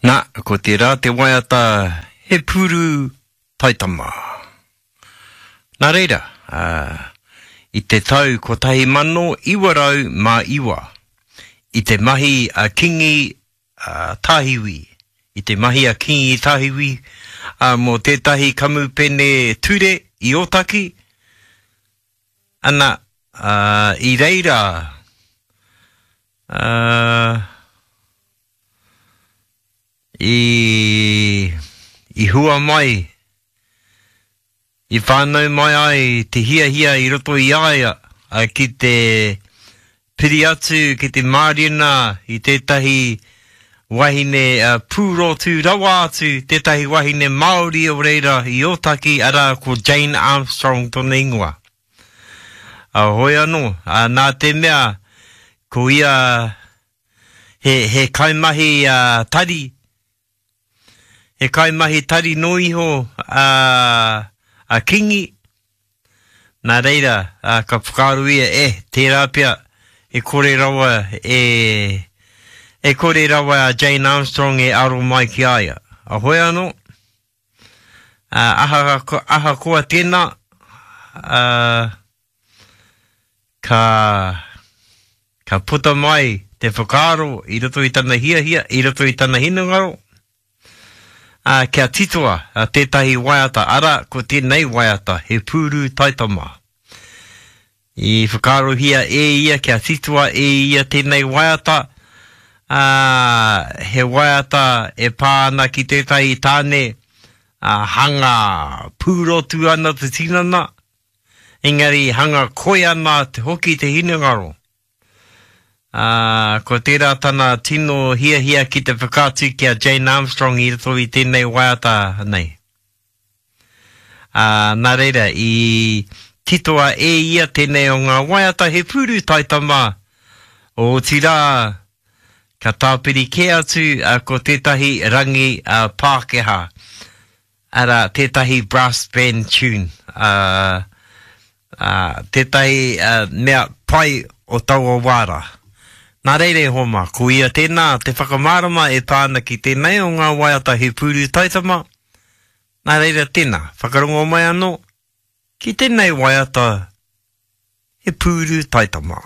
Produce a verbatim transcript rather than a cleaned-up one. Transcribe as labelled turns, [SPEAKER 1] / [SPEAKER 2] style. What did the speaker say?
[SPEAKER 1] Nā, ko tērā te waiata He Pūru Taitama. Nā reira, uh, i te tau kotahi mano iwa rau mā iwa, i te mahi a Kingi uh, Tāhiwi, i te mahi a Kingi Tāhiwi uh, mō tētahi kamupene ture i Ōtaki, ana, uh, i reira, uh, i, i hua mai, i whānau mai ai te hiahia i roto i a ia a, ki te piri atu, ki te mārena i tētahi wahine uh, pūrotu rawa atu, tētahi wahine Māori o reira i Ōtaki, arā ko Jane Armstrong tōna ingoa. Uh, hoi anō, uh, nā te mea, ko ia he, he kaimahi uh, tari, he kaimahi tari no iho a, a Kingi, nā reira, a, ka whakaaro ia, e, tērā pea, e kore rawa, e, e kore rawa a Jane Armstrong e aro mai ki a ia. A hoi anō, a, aha, ahakoa tēnā, a, ka, ka puta mai te whakaaro i roto i tana hiahia, i roto i tana hinengaro, a, kia titoa a, tētahi waiata, ara ko tēnei waiata, He Pūru Taitama. I whakaarohia e ia, kia titoa e ia tēnei waiata, a, he waiata e pā ana ki tētahi tāne, a, hanga pūrotu ana te tinana, engari hanga koi ana te hoki te hinengaro. Uh, ko tērā tana tino hiahia ki te whakaatu ki a Jane Armstrong i roto i tēnei waiata nei. Uh, nā reira, i titoa e ia tēnei o ngā waiata He Pūru Taitama, o otirā, ka tāpiri kē atu uh, ko tētahi rangi uh, Pākehā, arā tētahi brass band tune, uh, uh, tētahi uh, mea pai o taua wāra. Nā reira e hoa mā, ko ia tēnā te whakamārama e pā ana ki tēnei o ngā waiata He Pūru Taitama. Nā reira tēnā, whakarongo mai anō ki tēnei waiata He Pūru Taitama.